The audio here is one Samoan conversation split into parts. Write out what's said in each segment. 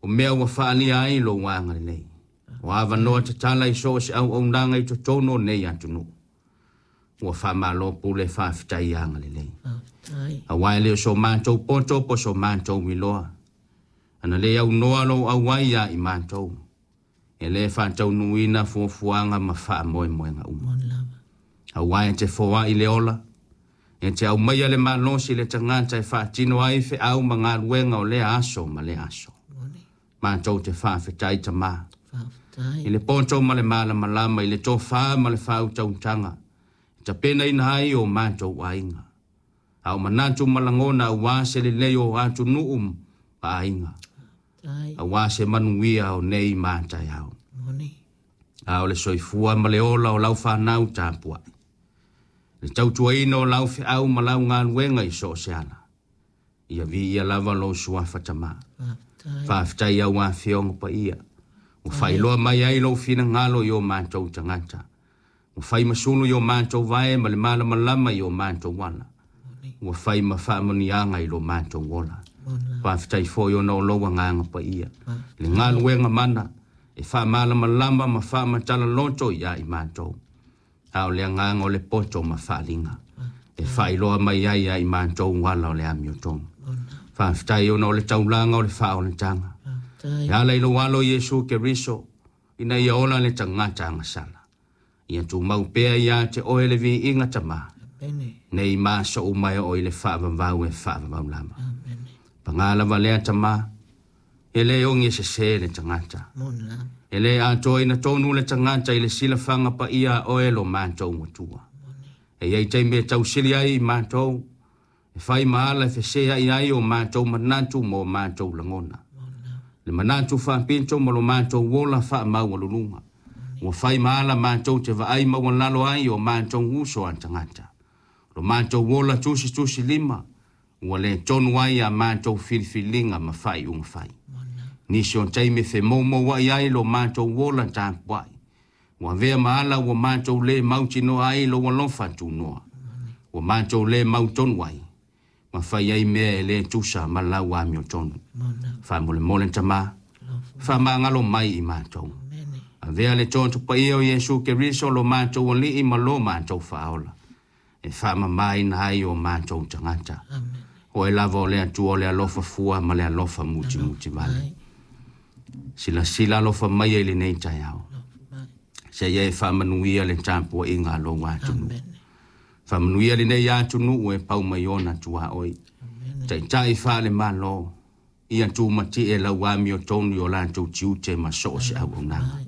O mea ua faaalia ai lou agalelei. O avanoa tatala i so o se auaunaga i totonu o nei atunuu. Ua faamalo pule faafetai agalelei. Faafetai. Aua e le o so matou poto po o so matou iloa. Ana le aunoa lou auai ia i matou. E le faataunuuina fuafuaga ma faamoemoega uma. Moni lava. Aua e te foai le ola, e te aumaia le malosi i le tagata e faatino ai feau ma galuega o lea aso ma lea aso. Moni. Matou te faafetai Tamā. Faafetai. I le poto ma le malamalama, i le tofa ma le faautautaga, e tapenaina ai o matou aiga. A o manatu ma lagona aua se lelei o atunuu ma aiga. Faafetai. Aua se manuia o nei ma taeao. Moni. A o le soifua ma le ola o lau fanau tapuai. Le tautuaina o lau feau ma lau galuega i so o se ala. Ia viia lava lou suafa Tamā. Faafetai. Faafetai au afioga paia. Ua faailoa mai ai lou finagalo i o matou tagata. Ua fai ma sulu i o matou vae ma le malamalama i o matou ala. Moni. Ua fai ma faamanuiaga i lo matou ola. Moni lava. Faafetai foi ona o lou agaga paia. Le Faafetai. galuega mana e faamalamalama ma faamatala loto ia i matou. A o le agaga o le poto ma faaliga. E Faafetai. faailoa mai ai ia i matou ala o le amiotonu. Moni lava. Faafetai ona o le taulaga o le faaolataga. Faafetai. E ala i lou alo Iesu Keriso, ina ia ola le tagata agasala. Ia tumau pea ia te oe le viiga Tamā. Amene. Nei ma aso uma e oo i le faavavau e faavavau lava. Amene. Paga lava lea Tamā, e le ogi e sesē le tagata. Moni lava. E le atoaina tonu le tagata i le silafaga paia a oe lo matou Atua. Moni. E iai taimi e tausili ai i matou, e fai ma ala e feseai ai o matou manatu ma o matou lagona. Moni lava. Le manatu faapito ma lo matou ola faamaualuluga. Ua fai ma ala matou te vaai maualalo ai o matou uso a tagata. Lo matou ola tusitusi lima, ua le tonu ai a matou filifiliga ma faaiuga fai. Moni lava. Nisi o taimi femoumouai ai lo matou ola tapuai. Ua avea ma ala ua matou le mautinoa ai lou alofa tunoa. Ua matou le mautonu ai. Ma fai ai mea e le tusa ma lau amiotonu. Moni lava. Faamolemole Tamā, Alofa. faamagalo mai i matou. Amene. Avea le toto paia o Iesu Keriso lo matou alii ma lo matou faaola. E faamamaina ai o matou tagata. Amene. Oe lava o le Atua o le alofa fua ma le alofa mutimuti vale. Mai. Silasila alofa mai i lenei taeao. Alofa mai. Seia e faamanuia le tapuaiga a lou atunuu. Amene. Faamanuia lenei atunuu e pau mai ona tuaoi. Amene. Taitai faale-Malo, ia tumatie lau amiotonu i o latou tiute ma so o se auaunaga. Mai.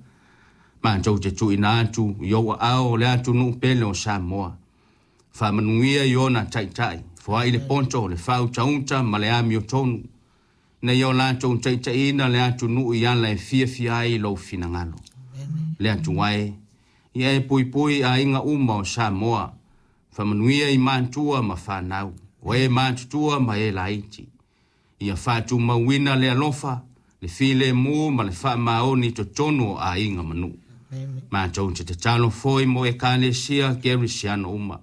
Matou te tuuina atu i ou aao o le atunuu pele o Samoa. Faamanuia i ona taitai, foai le poto, le faautauta ma le amiotonu. Ina ia o latou taitaiina le atunuu i ala e fiafia ai lou finagalo. Amene. Le Atua e, ia e puipui aiga uma o Samoa. Faamanuia i matua ma fanau, o e matutua ma e laiti. Ia faatumauina le alofa, le filemu ma le faamaoni i totonu o aiga ma nuu. Amene. Matou te tatalo foi mo ekalesia kerisiano uma.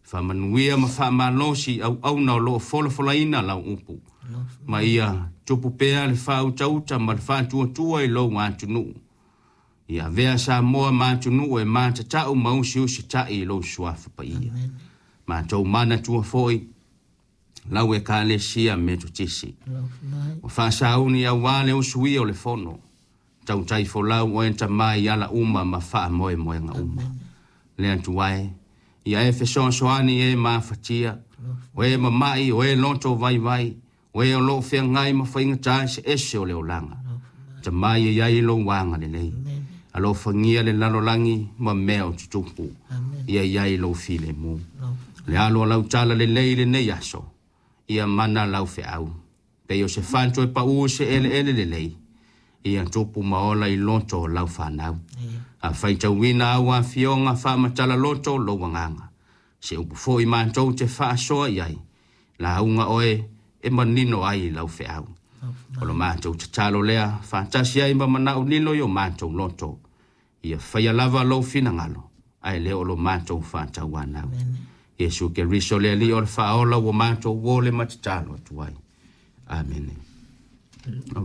Faamanuia ma faamalosi auauna o loo folafolaina lau upu. Alofa. Ma ia tupu pea le faautauta ma le faatuatua i lou atunuu. Ia avea Samoa ma atunuu e matatau ma usiusitai i lou suafa paia. Amene. Matou manatua foi lau ekalesia Metotisi. Alofa mai. Ua faasauni aua le usuia o le fono. Tautai folau oe Tamā i ala uma ma faamoemoega uma. Amene. Le Atua e, ia e fesoasoani e mafatia. Alofa. O e mama'i, o e loto vaivai, o e o loo feagai ma faigata eseese o le olaga. Alofa mai. Tamā ia i ai lou agalelei. Amene. Alofagia le lalolagi ma mea o tutupu. Amene. Ia i ai lou filemu. Alofa. Le alo o lau tala lelei lenei aso. Ia mana lau feau. Pei o se fato e pau se eleele lelei. Ia tupu ma ola i loto o lau fanau. Ia. A faitauina au afioga faamatala loto lou agaga. Se upu foi matou te faasoa i ai. Lauga oe e manino ai i lau feau. Alofa O lo mai. matou tatalo lea faatasi ai ma manao lilo i o matou loto. Ia faia lava lou finagalo. Ae le o lo matou faatauanau. Amene. Iesu Keriso le Alii o le faaola ua matou uo le ma tatalo atu ai. Amene. O